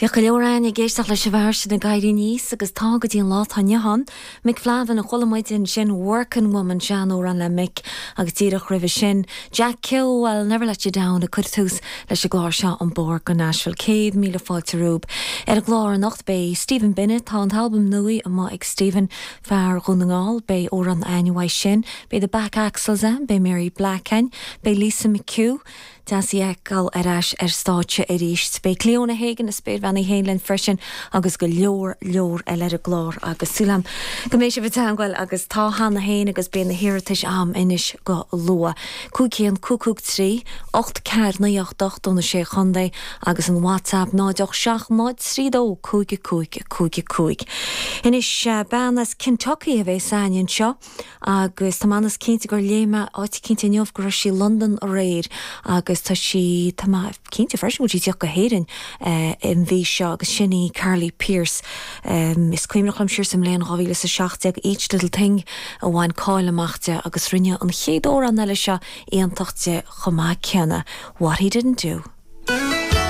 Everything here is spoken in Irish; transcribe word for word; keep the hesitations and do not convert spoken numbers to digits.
Bhíodh go leor againn ag éisteacht leis an bhfear sin ag éirí aníos agus tá go dtí an lá atá inniu ann. Mick Flavin a chuala muid ansin Working Woman seanamhrán le Mick agus díreach roimhe sin. Jack Keogh I'll never let you down ag cur tús leis an gclár seo an Bóthar go Nashville céad míle fáilte romhaibh. Ar an gclár anocht beidh Stephen Bennett tá an t-albam nua amach ag Stephen fear Dhún na nGall beidh amhrán againn uaidh sin, beidh the Back Axles ann, beidh Mary Black ann, beidh Lisa McHugh, Deas í a fheiceáil ar ais ar stáitse arís. Beidh Cleona Hagan a spéirbhean í féin linn freisin agus go leor leor eile ar an gclár agus súil agam go mbeidh sibh i dteagmháil agus tá cheana féin agus beidh na hiarratais agam anois go luath. Cúig haon cúig cúig trí, ocht ceathair naoi ocht ocht do na sé chontae agus an WhatsApp náid ocht seacht náid trí dó cúig cúig cúig cúig. Anois bean as Kentucky a bheas againn anseo agus tá mé cinnte gur léigh mé áit éicint inniu go raibh sí i Londain aréir agus tá sí tá mé cinnte freisin sí ag tíocht go hÉirinn uh, an mhí seo agus sin í Carly Pearce. Um, is cuimhneach liom siar sa mbliain dhá mhíle is a seacht déag Each Little Thing a bhain cáil amach di agus rinne an chéad amhrán eile seo iontach di chomh maith céanna. What he didn't do.